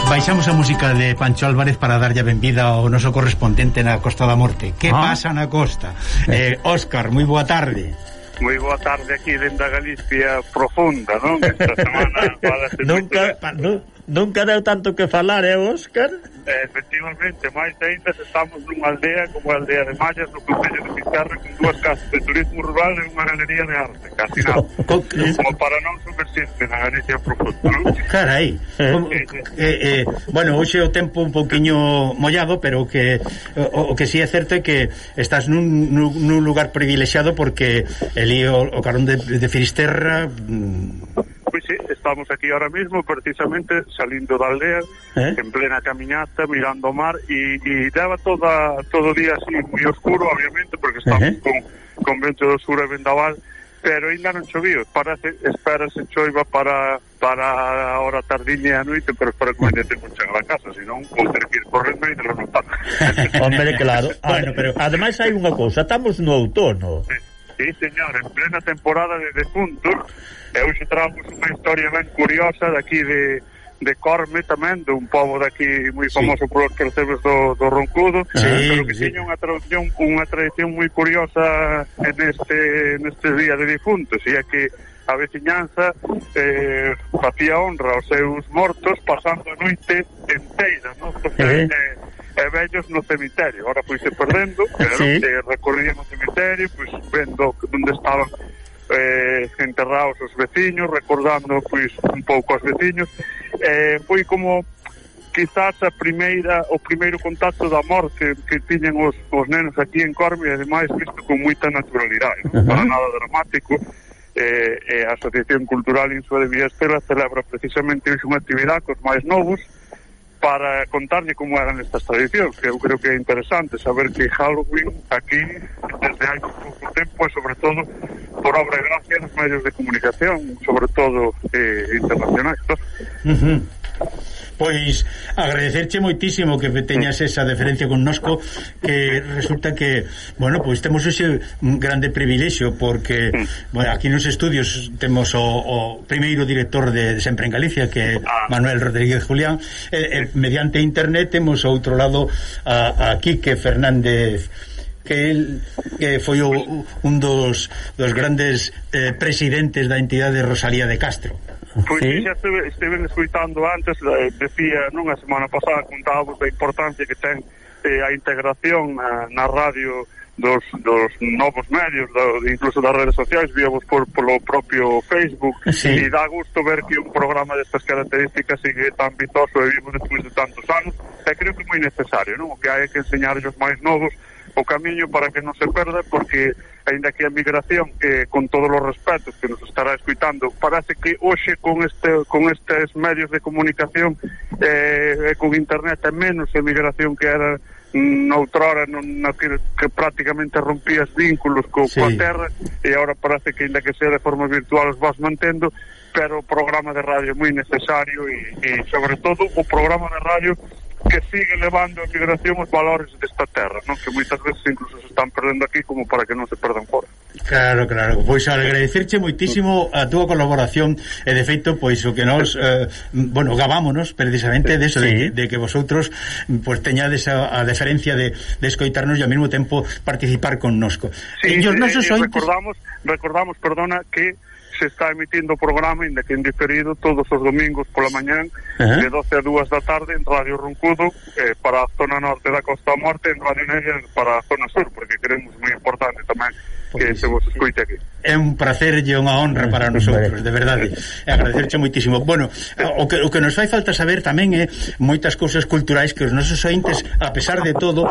Baixamos a música de Pancho Álvarez para darlle a benvida ao noso correspondente na Costa da Morte. Que pasa na costa? Óscar, moi boa tarde. Moi boa tarde aquí dentro da Galicia profunda, non? Esta semana nunca deu tanto que falar, Óscar? Efectivamente, máis ainda estamos nunha aldea como a aldea de Mallas no concello de Fisterra con dúas casas de turismo rural e unha galería de arte, casi nada como para non subversirse na Galicia profunda, non? Carai, bueno, hoxe o tempo un pouquiño mollado, pero o que si é certo é que estás nun lugar privilexiado porque o carón de Fisterra Pois sí, estamos aquí ahora mismo precisamente salindo da aldea en plena caminata, mirando o mar e daba todo o día así moi oscuro, obviamente, porque estamos con vento do sur e vendaval, pero ainda non choviu. Espérase choiva para a hora tardiña e a noite, pero espero que mañá temos chegar a casa, senón vou ter que ir correndo e de notar. Hombre, claro. Bueno, pero ademais hai unha cousa, estamos no outono. Sí, señor, en plena temporada de defuntos. E hoxe traemos unha historia ben curiosa daqui de Corme tamén, dun pobo daqui moi famoso por os percebes do Roncudo, pero que tiña unha tradición moi curiosa neste día de difuntos, e é que a veciñanza facía honra aos seus mortos pasando a noite enteira, non? E vellos no cemiterio, ahora pois se perdendo, pero recorrían o cemiterio, pois vendo onde estaban enterrados os veciños, recordando pois un pouco os veciños. Foi como quizás o primeiro contacto da morte que tiñen os nenos aquí en Corme, e ademais visto con moita naturalidade, non? Para nada dramático. A Asociación Cultural Insua de Villastela celebra precisamente hoxe unha actividade cos máis novos para contarlle como eran estas tradicións, que eu creo que é interesante saber que Halloween aquí desde hai pouco tempo e sobre todo por obra e gracia dos medios de comunicación, sobre todo internacionais. Pois agradecerche moitísimo que teñas esa deferencia connosco, que resulta que, bueno, pois temos ese grande privilexio porque bueno, aquí nos estudios temos o primeiro director de Sempre en Galicia, que é Manuel Rodríguez Julián, mediante internet temos ao outro lado a Quique Fernández, que foi un dos grandes presidentes da entidade Rosalía de Castro. Pois xa estiven escuitando antes, decía, nunha semana pasada contábamos da importancia que ten a integración na radio dos novos medios, incluso das redes sociais, víamos polo propio Facebook, e dá gusto ver que un programa destas características sigue tan vistoso e vivo despois de tantos anos, e creo que é moi necesario, non? O que hai que enseñar aos máis novos o camiño para que non se perda, porque aínda que a migración, con todos os respetos que nos estará escuitando, parece que hoxe con estes medios de comunicación con internet é menos a migración que era noutrora, que prácticamente rompías vínculos coa terra, e agora parece que aínda que sea de forma virtual os vas mantendo, pero o programa de radio é moi necesario e sobre todo o programa de radio que sigue levando a migración os valores desta terra, non? Que moitas veces incluso se están perdendo aquí como para que non se perdan fora. Claro, pois agradecerche moitísimo a túa colaboración, e de feito, pois o que nos gabámonos precisamente de eso, de que vosotros pois teñades a deferencia de escoitarnos e ao mesmo tempo participar connosco. Recordamos, perdona, que se está emitindo o programa, ainda que en diferido, todos os domingos pola mañán de 12 a 2 da tarde en Radio Roncudo, para a zona norte da Costa da Morte, en Radio Negra para a zona sur, porque queremos moi importante tamén que se vos escoite aquí. É un placer e unha honra para nosotros, de verdade. E agradecerche moitísimo. Bueno, o que nos fai falta saber tamén é moitas cousas culturais que os nosos ointes, a pesar de todo,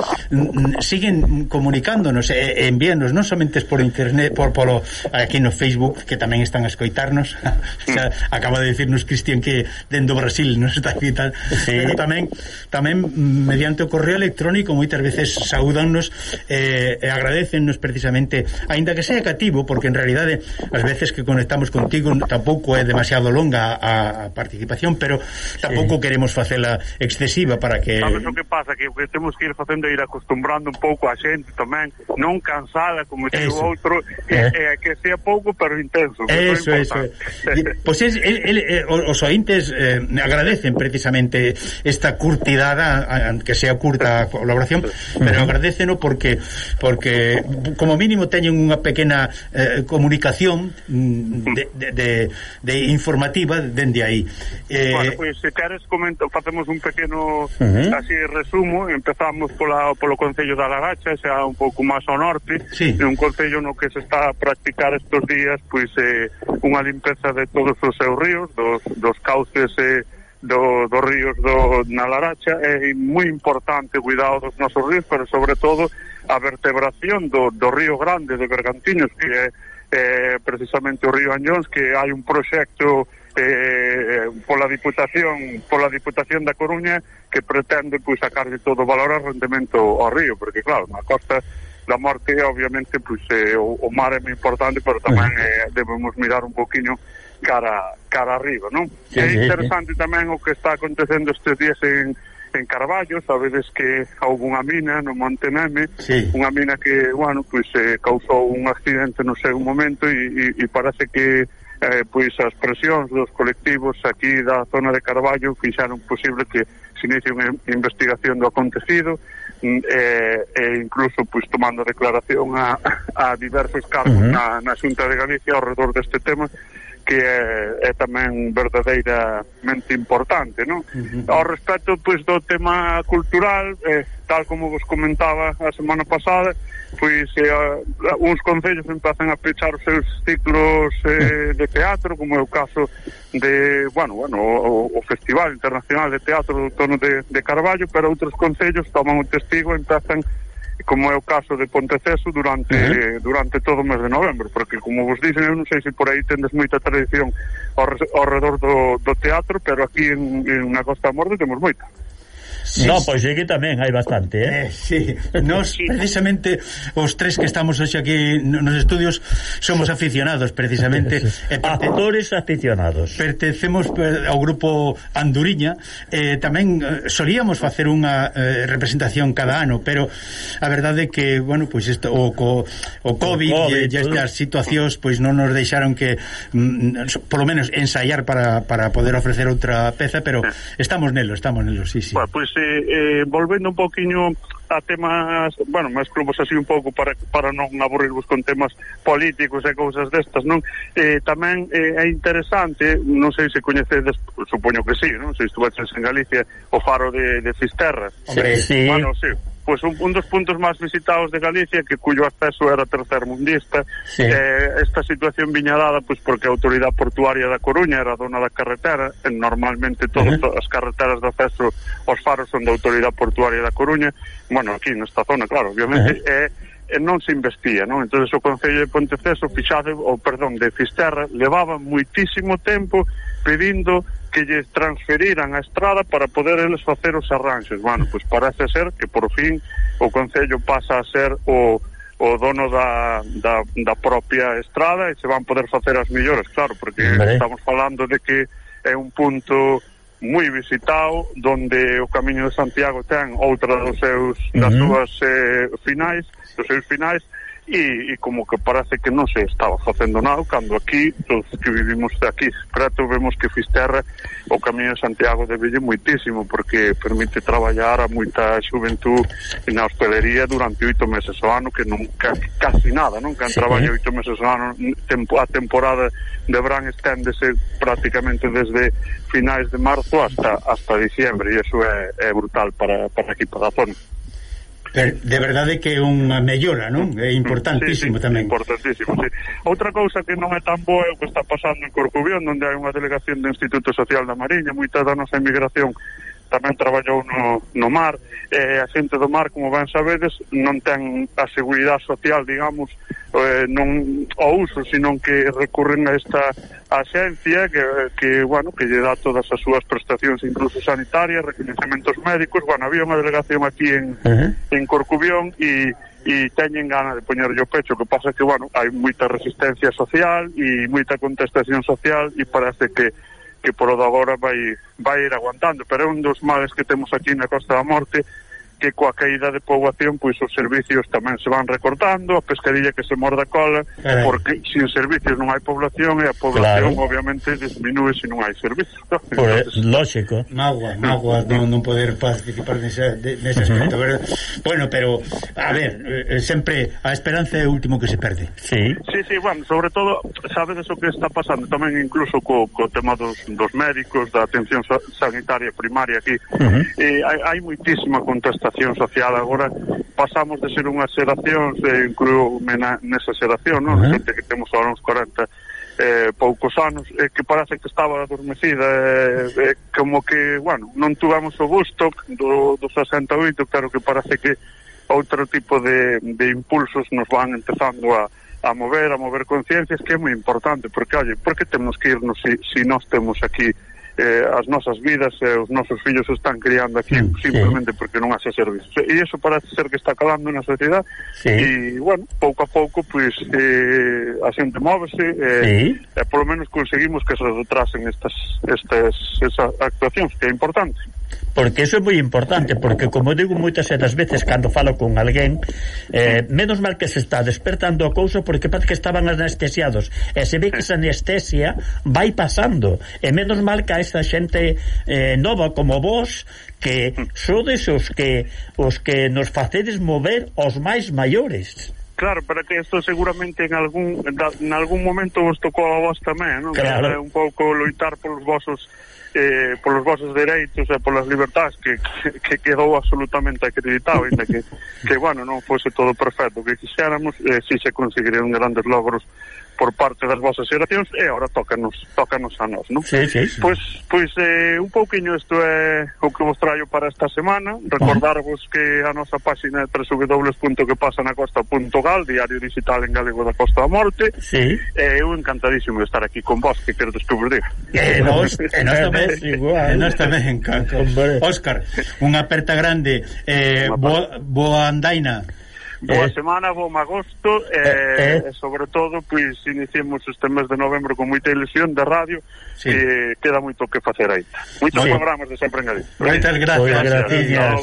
siguen comunicándonos e envíanos, non somente por internet, polo aquí no Facebook, que tamén están a escoitarnos. Acaba de decirnos Cristian que dentro do Brasil nos está aquí tal, pero tamén mediante o correo electrónico moitas veces saúdannos e agradecennos precisamente, aínda que sea cativo, porque en realidade as veces que conectamos contigo tampouco é demasiado longa a participación, pero tampouco queremos facela excesiva para que... Sabes o que pasa? Que o que temos que ir facendo é ir acostumbrando un pouco a xente tamén, non cansada como se o outro, que sea pouco pero intenso. Eso. Pois os ointes agradecen precisamente esta curtidade, que sea curta a colaboración, pero agradeceno porque como mínimo teñen unha pequena comunicación de informativa dende aí. Bueno, pois se queres facemos un pequeno así resumo. Empezamos polo Concello da Laracha, xa un pouco máis ao norte, un concello no que se está a practicar estos días pois unha limpeza de todos os seus ríos, dos cauces dos ríos na Laracha. É moi importante o cuidado dos nosos ríos, pero sobre todo a vertebración do río Grande de Bergantiños, que é precisamente o río Añóns, que hai un proxecto pola Diputación da Coruña que pretende pois sacarlle todo o valor ao rendemento ao río, porque claro, na Costa da Morte obviamente pois o mar é moi importante, pero tamén debemos mirar un poquinho cara arriba, non? É interesante tamén o que está acontecendo estes días en Carballo. Sabedes que houve unha mina no Monte Neme, unha mina que, bueno, pois causou un accidente no seu momento e parece que pois as presións dos colectivos aquí da zona de Carballo fixaron posible que se inicie unha investigación do acontecido, e incluso pois tomando declaración a diversos cargos na Xunta de Galicia ao redor deste tema, que é tamén verdadeiramente importante, non? Ao respecto pois do tema cultural, tal como vos comentaba a semana pasada, pois uns concellos empezan a pechar os seus ciclos de teatro, como é o caso de, o Festival Internacional de Teatro do Outono de Carballo, pero outros concellos toman o testigo e empezan, como é o caso de Ponteceso, durante todo o mes de novembro, porque como vos dicen, eu non sei se por aí tendes moita tradición ao redor do teatro, pero aquí na Costa da Morte temos moita. Pois aquí tamén hai bastante, Nos, precisamente, os tres que estamos hoxe aquí nos estudios somos aficionados, precisamente. Actores aficionados. Pertencemos ao grupo Anduriña, tamén solíamos facer unha representación cada ano, pero a verdade é que, bueno, pois isto, o COVID e estas situacións pois non nos deixaron que polo menos ensaiar para poder ofrecer outra peza, pero estamos nelo, sí. Bueno, pois volvendo un poquinho a temas, máis clubos así un pouco para non aburrirvos con temas políticos e cousas destas, non? Tamén é interesante, non sei se coñecedes, supoño que sí, non? Se estuveches en Galicia, o faro de Fisterra. Hombre, sí. Bueno, sí. Pois un dos puntos máis visitados de Galicia, que cuyo acceso era tercermundista. Esta situación viña dada pois porque a Autoridade Portuaria da Coruña era dona da carretera, normalmente todas as carreteras de acceso aos faros son da Autoridade Portuaria da Coruña. Bueno, aquí nesta zona, claro, obviamente non se investía, non? Entonces o Concello de Ponteceso de Fisterra levaba moitísimo tempo pedindo que lle transferiran a estrada para poder eles facer os arranxes. Bueno, pois parece ser que por fin o Concello pasa a ser o dono da propia estrada e se van poder facer as melloras, claro, porque estamos falando de que é un punto moi visitado, donde o Camiño de Santiago ten outra das súas finais, dos seus finais, e como que parece que non se estaba facendo nada, cando aquí, todos que vivimos aquí preto, vemos que Fisterra o Camiño de Santiago debelle moitísimo, porque permite traballar a moita xuventud na hostelería durante 8 meses ao ano, que non casi nada, non? Que traballa 8 meses ao ano, a temporada de verán esténdese prácticamente desde finais de marzo hasta diciembre, e iso é brutal para aquí, para a zona. De verdade que é unha mellora, non? É importantísimo tamén. Importantísimo, sí. Outra cousa que non é tan boa é o que está pasando en Corcubión, onde hai unha delegación do Instituto Social da Mariña. Moita da nosa emigración tamén traballou no mar, a xente do mar, como ben sabedes, non ten a seguridade social, digamos, non o uso, sino que recurren a esta axencia que lle dá todas as súas prestacións, incluso sanitarias, reconhecementos médicos. Bueno, había unha delegación aquí en Corcubión e e teñen gana de poñerlle o pecho. O que pasa é que, bueno, hai moita resistencia social e moita contestación social, e parece que por o de agora vai ir aguantando, pero é un dos males que temos aquí na Costa da Morte, que coa caída de poboación, pois os servicios tamén se van recortando, a pescadilla que se morda cola, porque sin servicios non hai población, e a población obviamente disminúe se non hai servicios. Lógico. Magua non poder participar nese aspecto, verdad? Bueno, pero a ver, sempre a esperanza é o último que se perde. Sí, bueno, sobre todo, sabedes o que está pasando tamén incluso co tema dos médicos, da atención sanitaria primaria aquí. Hai moitísima contestación social. Agora pasamos de ser unha xeración, incluo nesa xeración, non? Xente que temos agora uns 40 poucos anos, que parece que estaba adormecida, como que, bueno, non tuvamos o gusto do 68, claro que parece que outro tipo de impulsos nos van empezando a mover conciencias, que é moi importante, porque, oye, por que temos que irnos se nós temos aquí as nosas vidas, os nosos fillos se están criando aquí simplemente porque non haxe servicios, e iso parece ser que está calando na sociedade, e bueno, pouco a pouco pois a xente móvese, e polo menos conseguimos que se retrasen estas actuacións, que é importante. Porque eso é moi importante, porque como digo moitas das veces cando falo con alguén, menos mal que se está despertando a cousa, porque parece que estaban anestesiados, e se ve que esa anestesia vai pasando, e menos mal que a esa xente nova como vos, que sodes os que nos facedes mover os máis maiores. Claro, para que isto seguramente en algún momento vos tocou a vos tamén, non? Claro. Un pouco loitar polos vosos dereitos e polas libertades, que quedou absolutamente acreditado, ainda que bueno, non fose todo perfecto que quixéramos, si se conseguirían grandes logros por parte das vosas xeracións, e agora tócanos a nós, non? Sí. Pois un pouquiño isto é o que vos traio para esta semana. Recordarvos que a nosa páxina é www.quepasanacosta.gal, diario digital en galego da Costa da Morte. Eu encantadísimo de estar aquí con vos, que queredes que vos diga. Nós tamén, Caco. Óscar, unha aperta grande, boa andaina. Boa semana, bom agosto, e sobre todo, pois, iniciemos este mes de novembro con moita ilusión de radio, e queda moito que facer aí. Moitos programas de sempre en Galicia. Moitas gracias.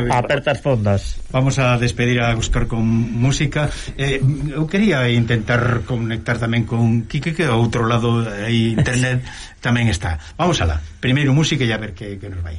Apertas fondas. Vamos a despedir a Óscar con música. Eu quería intentar conectar tamén con Quique, que ao outro lado aí internet tamén está. Vamos alá. Primeiro música e a ver que nos vai.